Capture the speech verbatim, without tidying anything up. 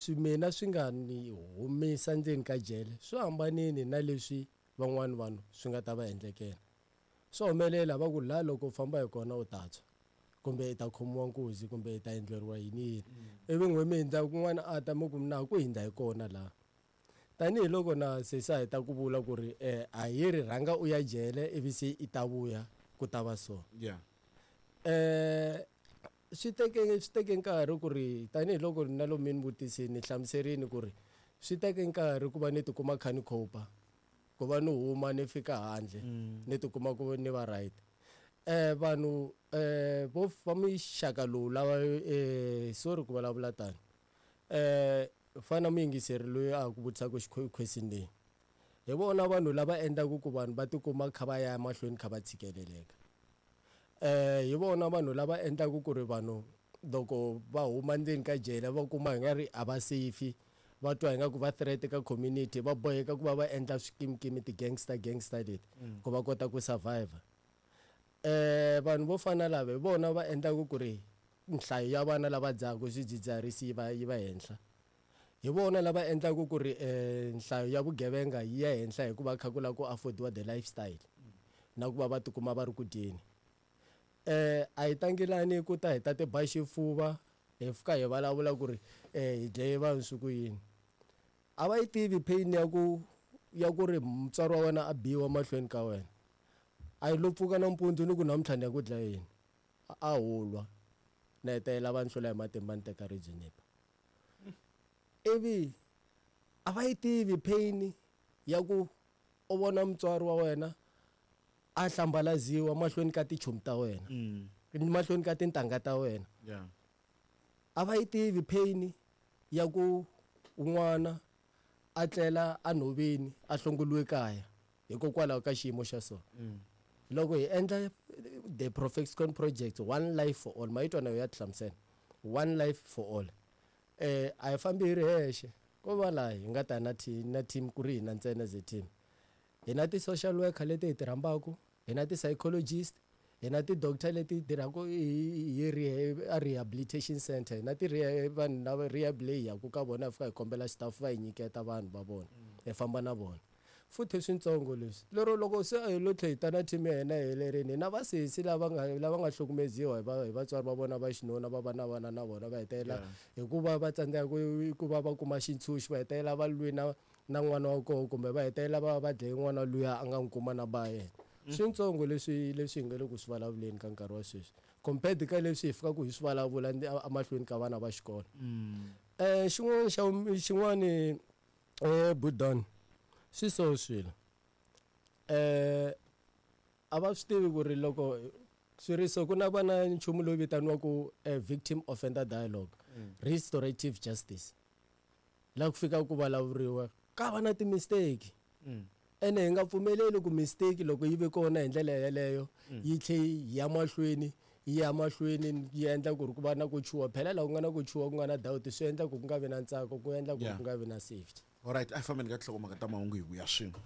Swi mina swi nga ni humisa ndzeni ka jele swi hambanile na leswi van'wani vanhu swi nga ta va endlekela. Swa humelela va ku laha loko u famba hi kona u ta tshwa kumbe i ta khomiwa nkuzi kumbe i ta endleriwa yini yini ivi n'we mi hindza kun'wana a ta mi ku na ku hindza hi kona laha. Tanihiloko na sesi a heta ku vula ku ri um a hi ri rhanga u ya jele ivi se i ta vuya ku ta va so. Yeah. Eh swi teke swi teke nkarhi ku ri tanihiloko na lomu mi ni vutisini ni hlamuserini ku ri swi teke nkarhi ku va ni tikuma kha ni cope ku va ni huma ni fika handle ni tikuma ku ni va right. Eh vanhu eh vo va mixaka lowu lava eh sorry ku vulavula tani eh fana muyingiseri loyi a ku vutisaka question leyi hi vona vanhu lava endlaku ku vanhu va tikuma kha va ya mahlweni kha va tshikeleleka. Eh hi vona vanhu lava endlaku ku ri vanhu loko va huma ndzeni ka jele va kuma hi nga ri a va safe va twa ingaku va threat ka community va boheka ku va va endla swikimikimi ti-gangster gangster leti ku va kota ku survive. Eh vanhu vo fana lava hi vona va endlaku ku ri nhlayo ya vana lava dzahaku swidzidziharisi yi va yi va henhla. Hi vona lava endlaku ku ri eh nhlayo ya vugevenga yi ya henhla hikuva kha ku lava ku affordiwa the lifestyle na ku va va tikuma va ri ku dyeni. Eh a hi tangelani ku ta hi ta ti ba xifuva hi fika hi vulavula ku ri eh hi dlaye vanhu swi ku yini. A va yi tivi pain ya ku ya ku ri mutswari wa wena a biwa mahlweni ka wena. A yi lo pfuka nampundzu ni ku namuntlha ni ya ku dlayeni. A ho lwa na hetelela va ni hlula hi matimba ni teka ribye ni ba. Ivi a va yi tivi pain ya ku u vona mutswari wa wena a hlambalaziwa mahlweni ka tichomi ta wena mahlweni ka tintangha ta wena. Yeah. A va yi tivi pain ya ku n'wana a tlela a nhoveni a hlongoliwe kaya hikokwalaho ka xiyimo xa so. Loko hi endla the Profexcon project one life for all ma yi twa na yo ya tihlamusela one life for all eh a hi fambi hi ri hexe ko va laha hi nga ta na team na team ku ri hina ntsena as a team. Hi na ti-social worker leti hi ti rhambaku hi na ti-psychologist hi na ti-doctor leti tirhaka hi hi a rehabilitation center hi na ti vanhu lava rehab leyi hi yaku ka vona hi fika hi kombela staff va hi nyiketa vanhu va vona hi famba na vona. Futhi switsongo leswi lero loko se a hi lo tlhe hi ta na team ya hina yi helerile hi na vasesi lava nga lava nga hlukumeziwa hi va hi vatswari va vona va xinuna va va na vana na vona va hetelela hikuva va tsandzeka ku ku va va kuma xitshunxo va hetelela va lwi na na n'wana wa koho kumbe va hetelela va va dlaye n'wana luya a nga n'wi kuma na ba yena. Switsongo leswi leswi hi nga le ku swi vulavuleni ka nkarhi wa sweswi compared ka leswi hi fikaka hi swi vulavula emahlweni ka vana va xikolo. Eh xin'wana xa xin'wani eh Budon swi so swilo eh a va swi tivi ku ri loko swi ri so ku na va na nchumu lowu vitaniwaku victim offender dialogue restorative justice laha ku fikaka ku vulavuriwa ka va na ti-mistake ene hi nga pfumeleli ku mistake loko yi ve kona hi ndlela yeleyo yi tlhe yi ya mahlweni yi ya mahlweni yi endla ku ri ku va na ku chuha phela laha ku nga na ku chuha ku nga na doubt swi endla ku ku nga vi na ntsako ku endla ku ku nga vi na safety. Alright, a hi fambeni ka tinhlokomhaka ta mahungu hi vuya swin'we.